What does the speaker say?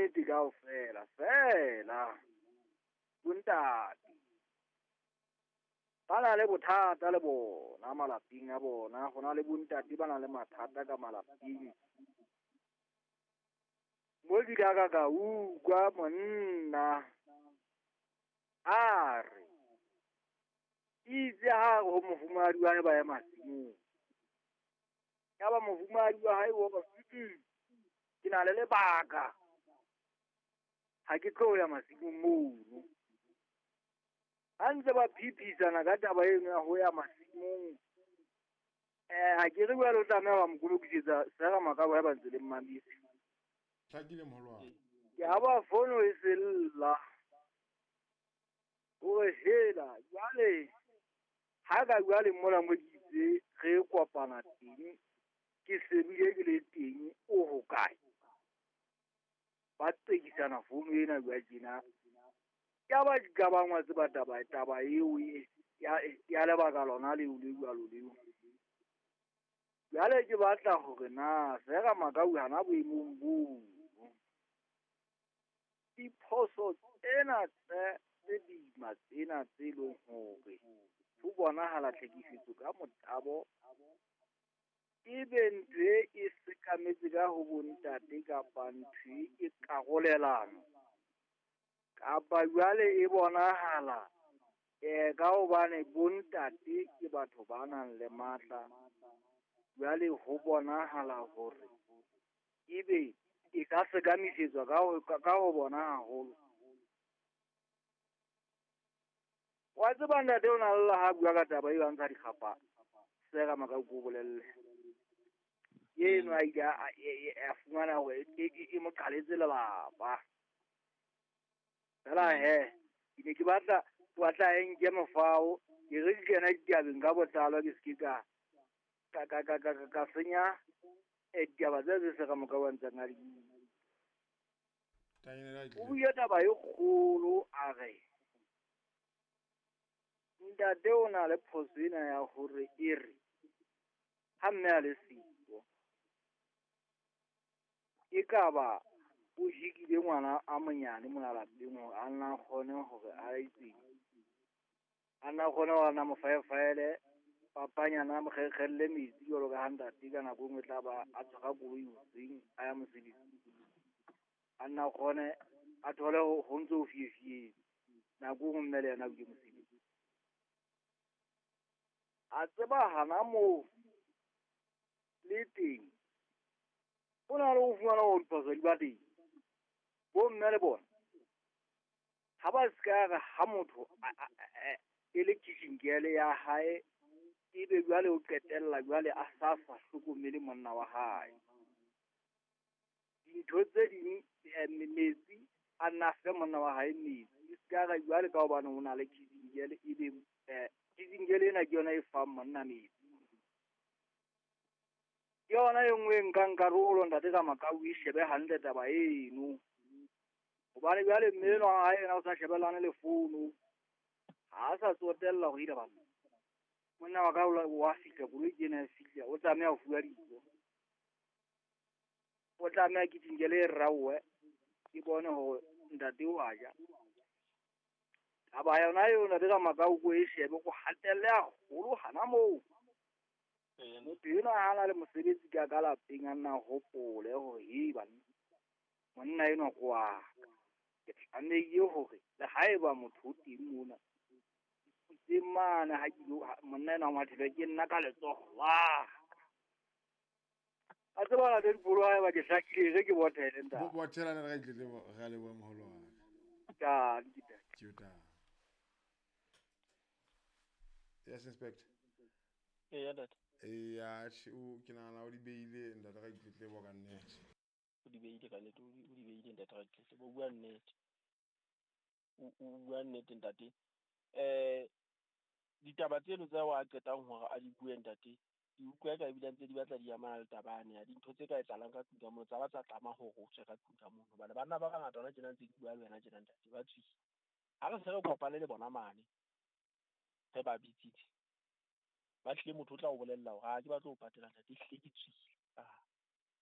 nnete kaofela feela bontate ba na le bothata le bona malapeng a bona. Ho na le bontate ba na le mathata ka malapeng. Mo ke ile ka utlwa monna a re itse ha re ho mofumahadi wa hae ba ya masimong. Yaba mofumahadi wa hae o re, ke na le lebaka, ha ke tlo ya masimong mono. Ha ntse ba phiphisana ka taba eno ya ho ya masimong, ha ke re jwale o tlameha wa mo kolokisetsa sera makabo ha ba ntse le mmametse. Hlakile moholo wa ka. Ke ha ba fono e sella. O re hela jwale ha ka jwale mola mo ke itse re kopana teng, ke sebile ke le teng, o hokae? Ba tsekisana fono ena jwa tjena. Ya ba di ka bangwa tseba taba eo ya lebaka lona leo le jwalo leo. Jwale ke batla hore na Sera Makau hana boemong boo. Diphoso tsena tse boima tsena tse leng hore ho bonahala tlhekefetso ka motabo ebe ntho e sekametse ka ho bontate kapa ntho e karolelano kapa jwale e bonahala ka hobane bontate ke batho ba nang le matla, jwale ho bonahala hore ebe e ka sekamisetswa ka ho bona haholo. Wa tseba ntate o na lla ha bua ka taba eo a ntsha dikgapa. Sera Makau ko bolelle. Eno a ile a fumana hore e mo qaletse lelapa. Fela he, ke ne ke batla e nke mofao, ke re ke kena ditabeng ka botlalo, ke se ke ka senya ditaba tse Sera Makau a ntseng a di bua. O buile taba e kgolo a re ntate o na le phoso ena ya hore e re ha mme a le siko e ka ba o hikile ngwana a monyane mona lapeng hore a nna kgone hore a itseng, a nna kgone hore a nna mo faefaele papanyana a mo kgekgelle metsi jwalo ka ha ntate ka nako e nngwe tla ba a tshwara koloi hoseng a ya mosebetsing. A nna kgone a thole ho ntso ho fiefietse nako e nngwe mme le yena o ile mosebetsing. A tseba hana moo le teng o na le ho fumana hore diphoso di ba teng. Bo mme le bona ha ba se ka re ha motho e le kitchen girl ya hae, ebe jwale o qetella jwale a sa hlokomele monna wa hae. Dintho tse ding metsi a nna fe monna wa hae metsi, e se ka re jwale ka hobane o na le kitchen girl ebe kitchen girl ena ke yona e fang monna metsi. Ke yona e nngwe e nkang karolo ntate ka Makau e shebe hantle taba eno. Hobane jwale mme enwa wa hae yena o sa shebellane le fono, ha a sa tsotella hore ile banna. Monna wa ka wa fihla, koloi ke ena e fihla, o tlameha ho fuwa dijo. O tlameha kitchen girl e raowe, ke bone hore ntate o a ja. Taba yona eo ntate ka Makau ko e shebe, ko hatelle haholo hana moo. Motho enwa ha na le mosebetsi ka lapeng a nna hopole hore he banna, monna enwa ke wa ka. Ke tlamehile hore le haeba motho o teng mona, ke mane ha ke monna enwa ngwathele ke nna ka letsoho la ka. A tseba la dipolo ha eba ke hlakile re ke bothele ntate. Bothela ne re itlele re le bo moholo wa ka. Ke Yes, Inspector. Yeah, that. Ya, o ke nahana o di beile ntate ka ditletlebo ka nnete. O di beile ka nnete, o di beile ntate ka ditletlebo, o bua nnete. O bua nnete ntate. Ditaba tseno tsa wa qetang hore a di bue ntate, di utlwa ka ebile ntse di batla di amana le taba ane ya dintho tse ka etsahalang ka tlung ka mono, tsa ba tsa tlama hore o tswe ka tlung ka mono. Hobane banna ba bangata hona tjena ntse ke bua le wena tjena ntate, ba tswile. Ha re se re kopane le bona mane, re ba bitsitse. Ba tlile motho o tla o bolella hore ha ke batle ho patela ntate, ehlile ke tswile.